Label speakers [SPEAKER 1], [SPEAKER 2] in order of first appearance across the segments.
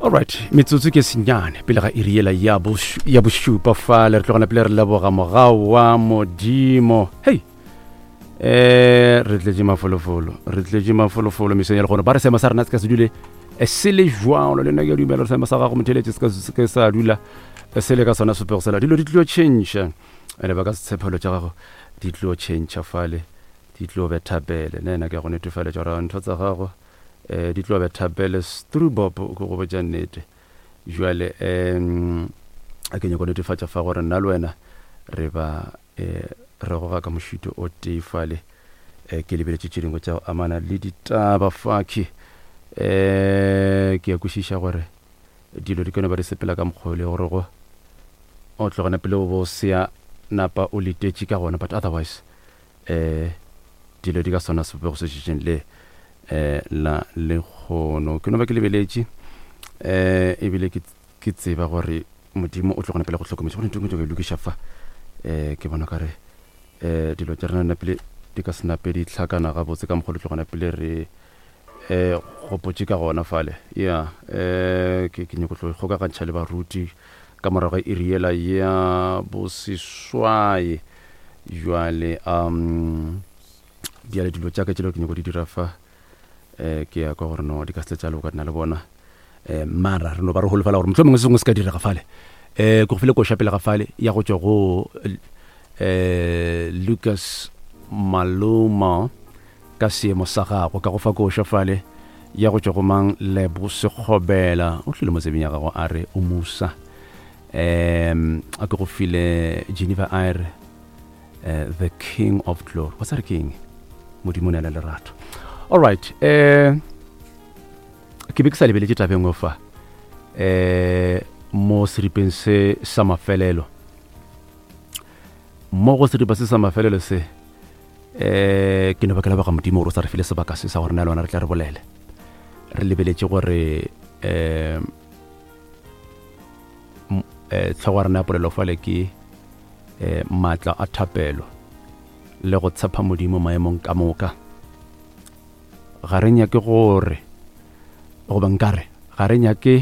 [SPEAKER 1] Alright, metsotso ke senyane pele ga iri yela ya ya bošupa fale re tlogana pele re leboga mogau wa modimo. Hei, eh re tletše mafolofolo, re tletše mafolofolo mesong ya legono. Ba re seemo sa rena se ka se dule eh, se le jwalo, le nna ke a dumela gore seemo sa gago motheletše se ka se ke sa dula eh, se le ka sona sepego sela. Dilo di tlo tšhentšha, ene ba ka setshephelo tša gago di tlo tšhentšha fale, di tlo betha pele. Nna ke a go netefaletša gore ntho tsa gago eh di tlo betha pele strubop ke go botša nnete jwale um a ke nyako netefatša fa gore nna le wena re ba eh re goga ka mošito o tee fale eh ke lebeletše tše dingwe tša go amana le ditaba fakhi eh ke a kwešiša gore dilo di ka no ba di sepela ka mokgwa le gore go o tlogana pele o bo sea napa o letetše ka gona but otherwise um dilo di ka sona sebopego se šetšeng le um la lekgono ke no ba ke lebeletše um ebile ke tseba gore modimo o tlo gona pele go hlokometše go ntho ke lokiša fa um ke bona kare um dilo tša rena napele di ka se nape di hlakana gabotse ka mokgwa le tlo gona pele re um gopotše ka gona fale ya um ke ke nyako tlo kgokagantšha le baruti ka morago ga iri yela ya boseswai jwale um bjale dilo tša ka tšelo ke nyako di dira fa um ke ya kwa gore no di ka se tša loka nna le bona um mara re no ba re holofela gore mohlomongwe se sengwe se ka direga fale um ke go file koša pele ga fale ya go tšwa go um Lucas Maloma ka seemo sa gago ka go fa koša fale ya go tšwa go mang Lebo Sekgobela o tlile mo tsebeng ya gago a re o musa um a ke go file Geneva Aire uh, the king of glory wa tsare king modimo o ne le lerato all right um ke be ke sa lebeletše tabeng o fa um mo seripeng se sa mafelelo mo go seripa se sa mafelelo se eh ke no ba ke leboga modimo gore o sa re file sebaka se sa gore na le lona re tla re bolele re lebeletše gore um tlhogo ya rena ya polelo fale ke um maatla a thapelo le go tshepa modimo maemong ka moka ga re nyake gore goba nkare ga re nyake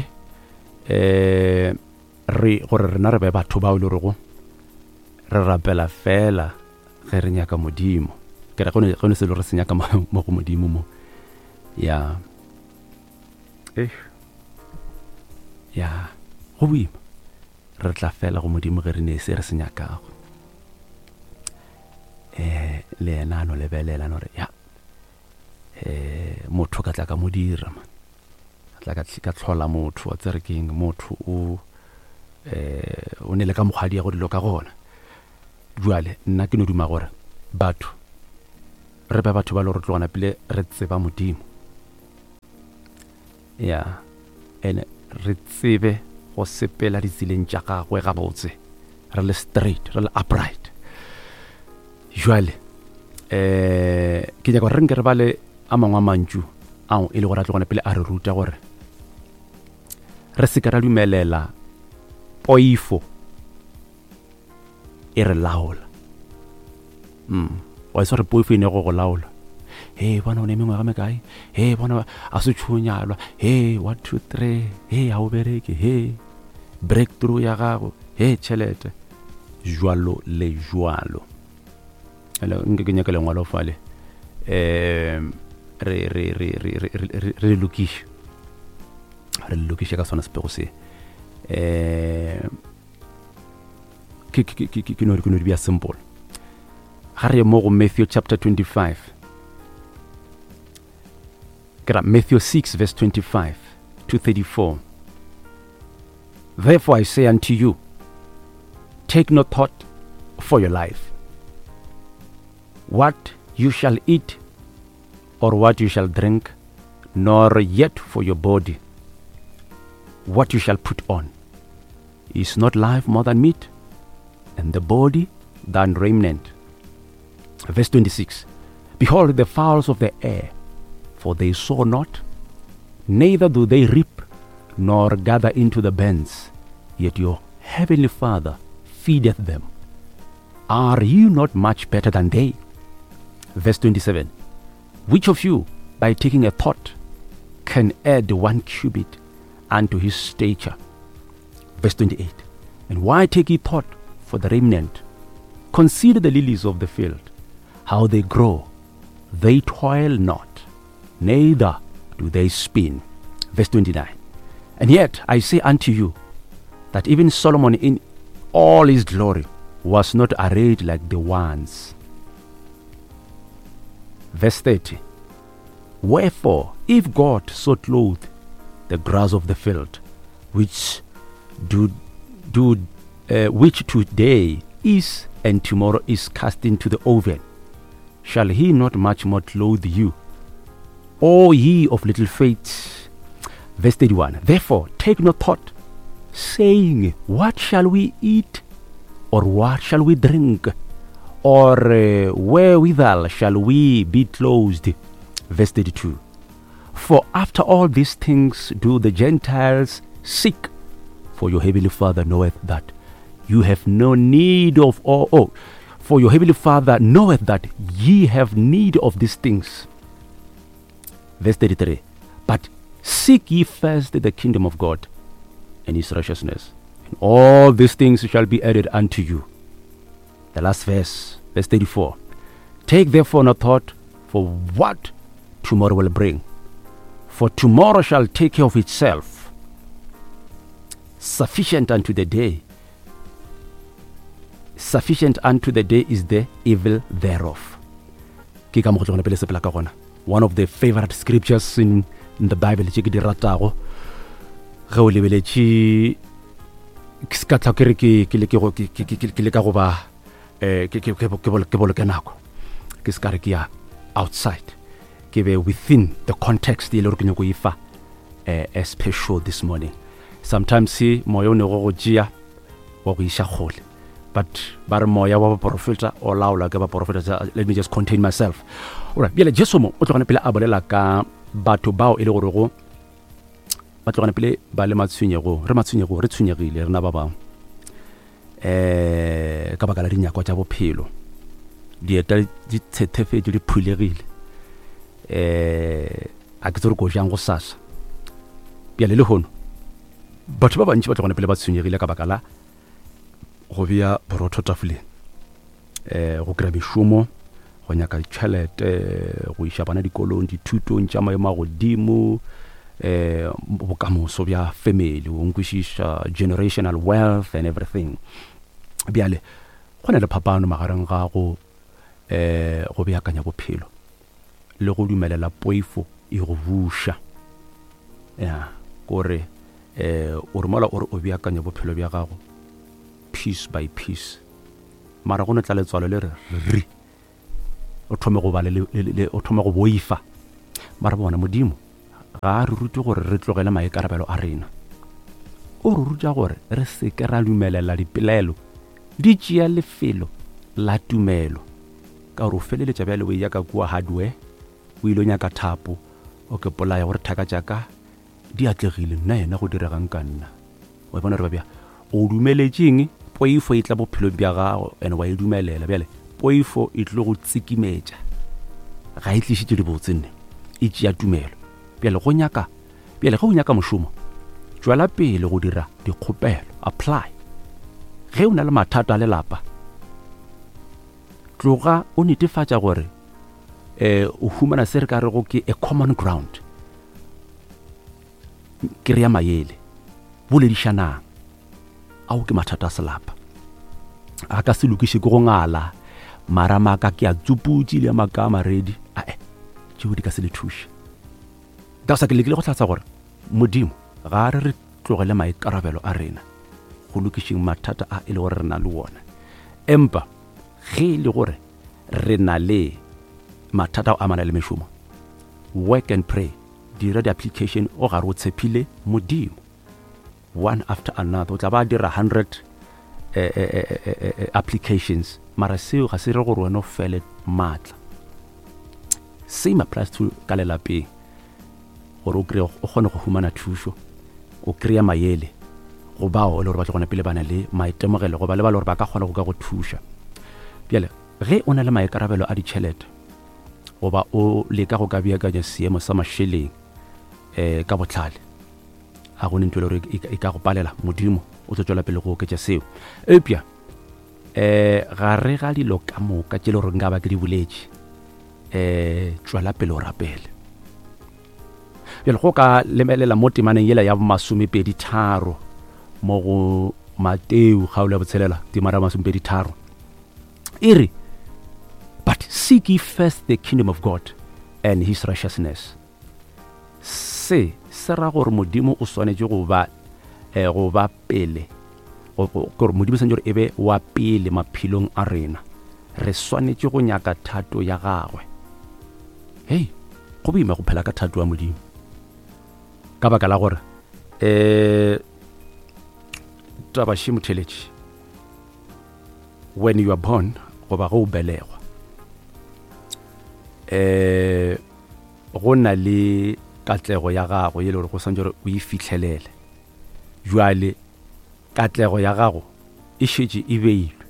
[SPEAKER 1] um re gore rena re be batho bao e le gorego re rapela fela ge re nyaka modimo ke re go ne selo re se nyaka mo go modimo mo ya eh ya go boima re tla fela go modimo ge re ne se re se nyakago eh le yena a no lebelela no re ya eh motho ka tla ka mo dira man tla ka ka tlhola motho wa tsere keng motho o eh o ne le ka mokgwa di ya go dilo ka gona jwale nna ke no duma gore batho re be batho ba le gore tlogana pele re tseba modimo ya ene re tsebe go sepela ditseleng tša gagwe gabotse re le straight re le upright jwale um ke nyaka gore re nke re bale a mangwe a mantšu ao e le gore a tlogone pele a re ruta gore re se ka ra dumelela poifo e re laola mm wa itse gore poifo e ne go go laola he bona o ne mengwaga mekae he bona a se tšhonyalwa he one two three he ga o bereke he breakthrough ya gago he tšhelete jwalo le jwalo nke ke nyaka lengwalo fale um re re re re re re re lokiše re lokiše ka sona sepego se um ke ke ke ke no ke no di bja simple ga re mo go Matthew chapter 25 ke ra Matthew 6 verse 25 to 34 Therefore I say unto you take no thought for your life what you shall eat or what you shall drink nor yet for your body what you shall put on Is not life more than meat, and the body than raiment? Verse 26 Behold the fowls of the air, for they sow not, neither do they reap, nor gather into the barns, yet your heavenly Father feedeth them. Are you not much better than they? Verse 27 Which of you, by taking a thought, can add one cubit? unto his stature. Verse 28. And why take ye thought for the remnant? Consider the lilies of the field, how they grow. They toil not, neither do they spin. Verse 29. And yet I say unto you, that even Solomon in all his glory was not arrayed like the ones. Verse 30. Wherefore, if God so clothe the grass of the field, which do do uh, which today is and tomorrow is cast into the oven, shall he not much more clothe you, O ye of little faith? Verse 31. Therefore, take no thought, saying, What shall we eat? Or what shall we drink? Or uh, wherewithal shall we be clothed? Verse 32. For after all these things do the Gentiles seek, for your heavenly Father knoweth that you have no need of all. Oh, for your heavenly Father knoweth that ye have need of these things. Verse 33. But seek ye first the kingdom of God and his righteousness, and all these things shall be added unto you. The last verse, verse 34. Take therefore no thought for what tomorrow will bring, for tomorrow shall take care of itself. Sufficient unto the day. Sufficient unto the day is the evil thereof. Ke ka mo go tlogona pele sepela ka gona. One of the favorite scriptures in, in the Bible tše ke di ratago. Ge o lebeletše ke se ka tla ke re ke ke leke go ke ke ke leka go ba eh ke ke ke boloke nako. Ke se ka re ke ya outside. Ke be within the context e le gore ke nyako e fa eh, as per show this morning. Sometimes moya o ne go go tšea wa go iša kgole but ba re moya wa baporofeta o laolwa ke baporofeta. Let me just contain myself. Alright, bjale Jesu mo o tlogane pele a bolela ka batho bao e le gorego ba tlogane pele ba le matshwenyegong. Re matshwenyegong, re tshwenyegile rena ba bangwe um ka baka la dinyakwa tša bophelo. Dieta di tshethefetše, di phulegile, um a ke tse re ko jang go sasa. Bjale lehono batho ba bantši ba tlogane pele ba tshwenyegile ka baka la go bea borotho tafoleng, um go kry-a mešomo, go nyaka ditšhelete, go iša bana dikolong, dithutong tša maemo a godimo, um bokamoso bja family, o nkwešiša, generational wealth and everything. Bjale go na le phapano magareng ga go um go beakanya bophelo le go dumelela poifo e go buša. Ya kore um o re mola o re o beakanya bophelo bja gago piece by piece, mara go no tla letswalo le re ri, o thome go ba le, le, o thome go boifa. Mara bona Modimo ga a re rute gore re tlogele maikarabelo a rena, o re ruta gore re seke ra dumelela dipelaelo di tšea lefelo la tumelo, ka gore o feleletša bjale o eya ka kua hardware, o ile o nyaka thapo, o ke polaya gore thaka tša ka di atlegile, nna yena go diregang ka nna? Wa bona gore ba bja o dumeletšeng poifo e tla bophelong bja gago, and wa e dumelela. Bjale poifo e tlo go tsikimetša, ga e tlišitše dibotse nne, e tšea tumelo. Bjale go nyaka, bjale ge o nyaka mošomo, tšwela pele go dira dikgopelo, apply. Ge o na le mathata a lelapa, tloga o netefatša gore eh o humana se re ka rego ke a common ground. Kry-a mayele, boledišanang. Ao ke mathata a selapa, a ka se lokiše ke go ngala marama ka ke a tsuputše le maka a maredi, ae tšeo di ka se le thuše. Ka sa ke lekile go hlatsa gore Modimo ga a re re tlogele maikarabelo a rena go lokišeng mathata a e le gore re na le wona, empa ge e le gore re na le mathata a amana le mešomo, work and pray, dira di-application o gare o tshepile Modimo, one after another. O tla ba dira 100 eh, eh, eh, applications, mara seo ga se re gore wena o fele maatla. Same applies to ka lelapeng, gore o kry o kgone go humana thušo, o kry-a mayele go bao e le gore ba tlo gona pele ba na le maitemogelo, goba le ba le gore ba ka kgona go ka go thuša. Bjale ge o na le maikarabelo a ditšhelete, goba o leka go ka beakanya seemo sa mašeleng um ka botlhale, A go ne ntho e le gore e ka go palela, Modimo o tlo tšwela pele go oketša seo. Eupša um gare ga dilo ka moka tše le gore nka ba ke di boletše, um tšwela pele o rapele. Bjale go ka lebelela mo temaneng yela ya masomepedi tharo mo go Mateo kgaolo ya botshelela temana ya masomepedi tharo e re, but seek ye first the kingdom of God and his righteousness. Se se ra gore Modimo o swanetše go ba eh, go ba pele gore Modimo swanetše gore e be wa pele maphelong a rena. Re swanetše go nyaka thato ya gagwe. Hei, go boima go phela ka thato ya Modimo. Ka baka la gore eh taba še motheletši when you are born goba ge o belegwa eh go na le katlego ya gago ye le gore go santse gore o e fitlhelele jwale katlego ya gago e šetše e beilwe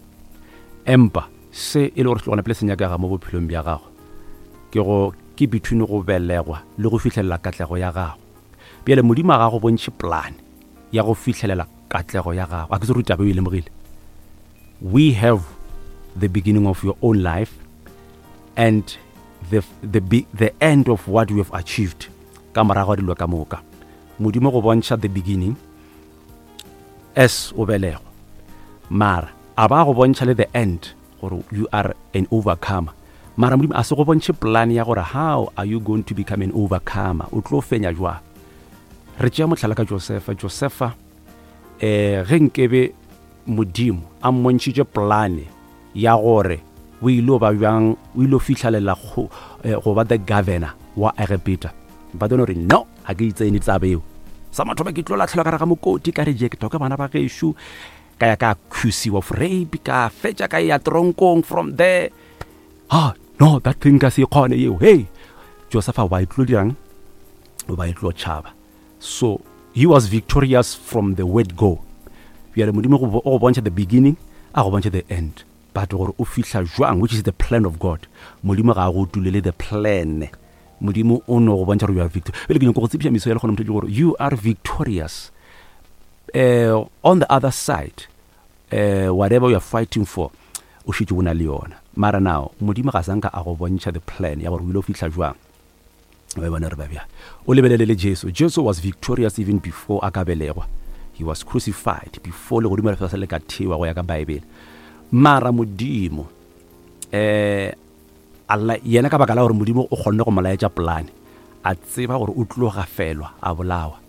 [SPEAKER 1] empa se e le gore tlogona pele se nyakega mo bophelong bja gago ke go ke between go belegwa le go fihlelela katlego ya gago bjale modimo a ga go bontšhe plan ya go fihlelela katlego ya gago a ke se gore taba e lemogile we have the beginning of your own life and the, the, the end of what you have achieved ka morago ga dilo ka moka modimo go bontšha the beginning as o belegwa mara a ba go bontšha le the end gore you are an overcomer mara modimo a se go bontšhe plan ya gore how are you going to become an overcomer o tlo fenya jwang re tšea mohlala ka josefa josefa eh ge nkebe modimo a mmontšhitše plane ya gore o ile ba bjang o ile fihlalela go eh, go ba the governor wa Egepeta ba don't re no a ke itsene tsabe eo sa mathomo ke tlo latlhelwa ka re ga mokoti ka rejectwa ke bana ba gešo ka ya ka accusiwa of rape ka fetša ka ya tronkong from there ah no that thing ka se kgone eo hey Joseph wa e tlo dirang o ba e tlo tšhaba so he was victorious from the word go bjale modimo o go bontšha the beginning a go bontšha the end but gore o fihla jwang which is the plan of god modimo ga a go tulele the plan modimo o no go bontšha gore you are victorious bjale ke nyako go tsebiša meso ya lekgona motho gore you are victorious uh, on the other side uh, whatever you are fighting for o šetše o na le yona mara now modimo ga sanka a go bontšha the plan ya gore o ile o fihla jwang ba bona re ba bjang o lebelele le jesu jesu was victorious even before a ka belegwa he was crucified before legodimo lefase le ka thewa go ya ka baebele mara modimo eh alla yena ka baka la gore modimo o kgonne go mo laetša polane a tseba gore o tlo gafelwa a bolawa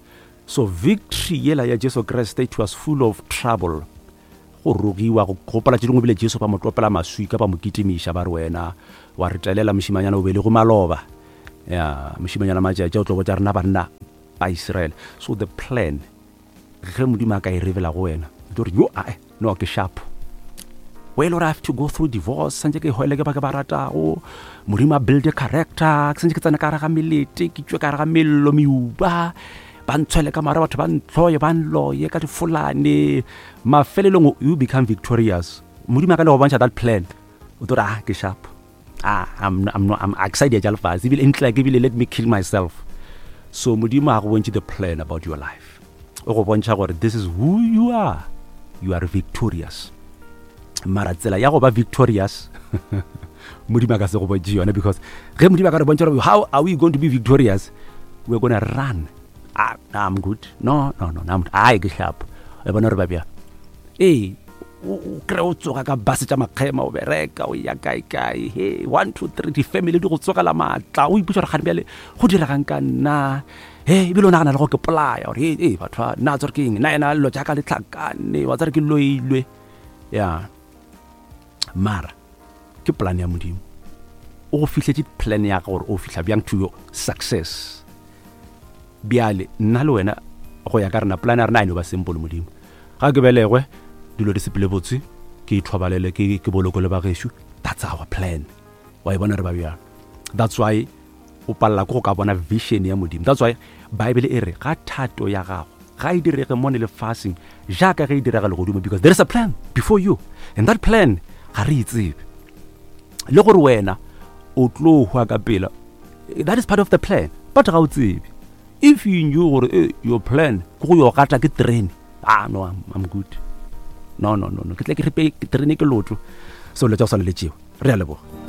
[SPEAKER 1] so victory yela ya jesu kriste it was full of trouble go rogiwa go gopola tše dingwe bile jesu ba mo tlopela maswika ba mo kitimiša ba re wena wa re telela mošimanyana o belego maloba ya mošimanyana matšatši o tlo botša rena banna ba israele so the plan ge modimo a ka e rebela go wena o tlo re yo ae no ke sharp well or I have to go through divorce santse ke hwele ke ba ke ba ratago modimo a build a character ke santse ke tsena ka gare ga melete ke tšwe ka gare ga mello meuba ba ntshwele ka mara batho ba ntlhoye ba nloye ka difolane mafelelong you become victorious modimo a ka le go bontšha that plan o tlo re ah ke sharp ah I'm, I'm, not, I'm excited ja lefase ebile ntle ke ebile let me kill myself so modimo a go bontšhe the plan about your life o go bontšha gore this is who you are you are victorious mara tsela ya go ba victorious modimo a ka se go bontšhe yone because ge modimo a ka re bontšha gore how are we going to be victorious we're gonna run ah, i'm good no no no I'm, ai ke sharp e bona gore ba bjang ee o kry o tsoga ka base tša makgema o bereka o ya kae kae he one two three di-family di go tsogela maatla o ipotsa gore gane bjale go diregang ka nna he ebile o nagana le go ke polaya gore ee batho ba nna tsore ke eng nna ena lelo jaaka le tlhakane wa tsare ke loilwe ya mara ke plan ya modimo o go fihletše plan ya gore o fihla bjang to your success bjale nna le wena go ya ka rena plan ya rena a e no ba simple modimo ga ke belegwe dilo di sepele botse ke ithobalele ke ke boloko le bagešo that's our plan wa e bona re ba bjang that's why o palela ke go ka bona vision ya modimo that's why bible e re ga thato ya gago ga e direge mo ne lefaseng jaaka ge e direga legodimo because there is a plan before you and that plan ga re e tsebe le gore wena o tlo hwa ka pela that is part of the plan but ga o tsebe If you knew gore eh, your plan ke go yo gata ke terene, ah no, I'm good. No, no, no, no. Ke tle ke ripe terene ke lotho. So le tša go swana le tšeo. Re a leboga.